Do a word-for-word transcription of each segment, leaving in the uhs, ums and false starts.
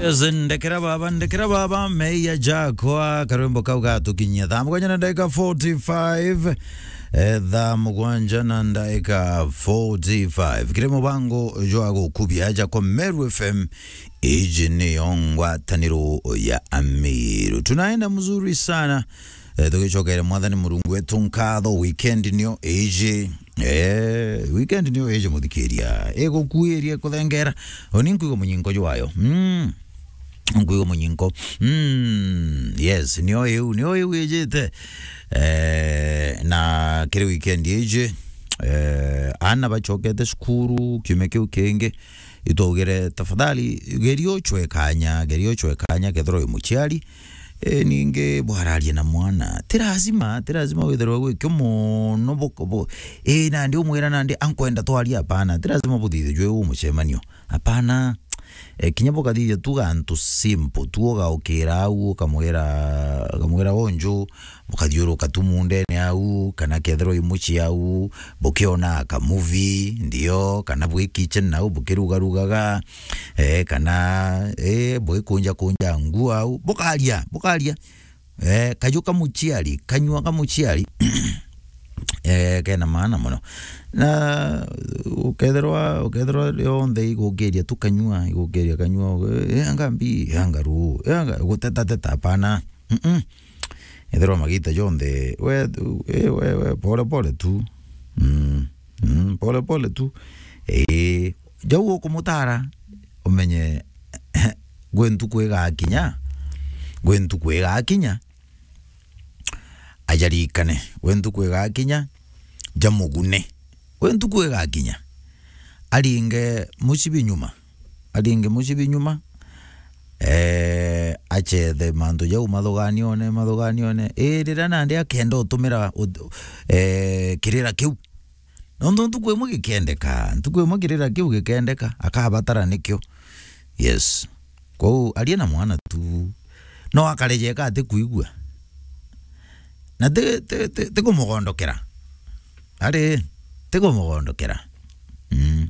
Yes, ndekera baba, ndekera baba, meia jakwa, karwimbo kau gatukinyia thaa mugwanja na ndagika forty-five. Eh, thaa mugwanja na ndagika forty-five. Kiri mubango jwa gukubia jakwa Meru F M, iji niyo ngwataniro ya Amiru. Tunaenda mzuri sana. Eh, tugicokere Mwathani Murungu wetu nkatho, weekend niyo iji. Eh, weekend niyo iji, muthikiria. Igukuiria kuthengera. Oni nkuigua munyinko jwayo. Mm. Nkuigua munyinko. Mm, yes, niyo iu, niyo iu ijite. Eh, na kiri weekend iji, eh, ana bacokete cukuru, kiumia kiu kingi, itwaugire, tafadhali, geria uchwe kanya, geria uchwe kanya, kethirwa wi muciari, e, ningi bwararia na mwana. Ti lazima, ti lazima withirwe gwikio mono, bu-, bu-, e, nandi umwira nandi ankwenda twaria, hapana. Ti lazima buthithie jwe u mucemanio. Hapana. E, kinya bukathithia tu gantu simple, tu ugaukira au, ukamwira, ukamwira, "Unju," bukathiuruka tu mundene au, kana kethirwa i mucii au, bukiona ka movie, ndio, kana bwi kitchen nau bukirugarugaga, eh, kana, eh, bugikunja kunja nguo au, bukaria, bukaria. Eh, kaju ka muciari, kanyua ka muciari, eh, kena maana mono. Na ukethirwa, ukethirwa yonthe igukiria tu kanyua, igukiria kanyua, eh, anga mbi, anga ru, eh, anga, guteta teta, hapana. Mm-mm. Ethirwa magita jonthe, we, eh, we, we, pole pole tu. Mm, mm, pole pole tu. Eh, jau ukumutara, umenye, gwi ntuku igakinya, gwi ntuku igakinya, ajarikane. Gwi ntuku igakinya, jamugune. Gwi ntuku igakinya, aringe mucibi nyuma. Aringe mucibi nyuma, eh, achethe mantu jau mathuganione, mathuganione. Ii, riria nandi akenda utumira ut-, eh, kirira kiu. Nontu ntuku imwe gikendeka, ntuku imwe kirira kiu gikendeka, akabatara nikio. Yes. Kwou aria na mwana tu. No akareje eka ati kuigua. Na ti, ti, ti, ti kumugondokera. Ari, ti kumugondokera. Mm.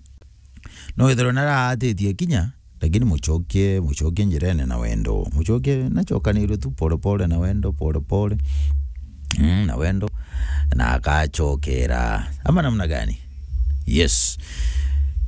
No withirwe naraatitie kinya, lakini mucokie, mucokie njirene na wendo. Mucokie nacokanirwe tu pole pole na wendo, pole pole. Mm, na wendo. Na akacokera. Ama namna gani? Yes.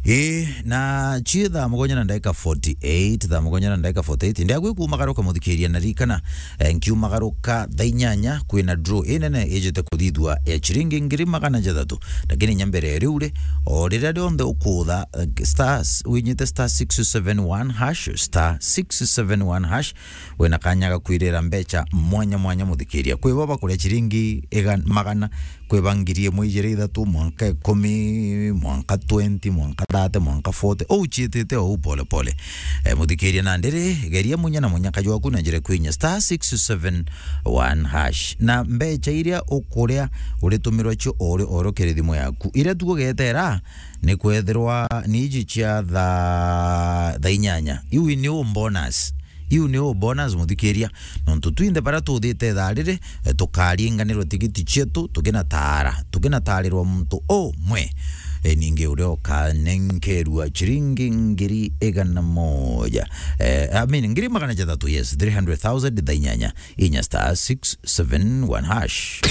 Ii, na cie thaa mugwanja na ndagika forty-eight, thaa mugwanja na ndagika forty-eight. Ndiagwi kumagaruka muthikiria na ririkana, eh, nkiumagaruka thaa inyanya kwina draw inene ijite kuthithua ya ciringi ngiri magana jathatu. Lakini inya mbere ya riu ri, o riria rionthe ukutha, eh, star, winyite star six seven one hash, star six seven one hash, wina kanya ga kwirira mbecha mwanya mwanya muthikiria. Kwi bo bakuria ciringi iga-, magana, kwi ba ngiri imwe, ijiri, ithatu, mwanka ikumi, mwanka twenty, mwanka thirty, mwanka forty. Ou ciitite ou pole pole. Eh, muthikiria, na ndiri, geria munya na munyaka jwaku na njira kwinya star six seven one hash. Na mbecha iria ukuria uritumirwa cio ori oro kiri thimu yaku. Iria tu ugetera ni kwethirwa ni iji cia thaa, thaa inyanya. Iu ni u bonus. Iu ni u bonus, muthikiria. Nontu twinthe baria tuthite thaa riri, eh, tukaringanirwa tigiti cietu, tukinataara, tukinataarirwa muntu umwe. Eh, ningi uria ukanenkerua ciringi ngiri igana moja. Eh, I mean, ngiri magana jathatu, yes, three hundred thousand, thaa inyanya, inya star six seven one hash.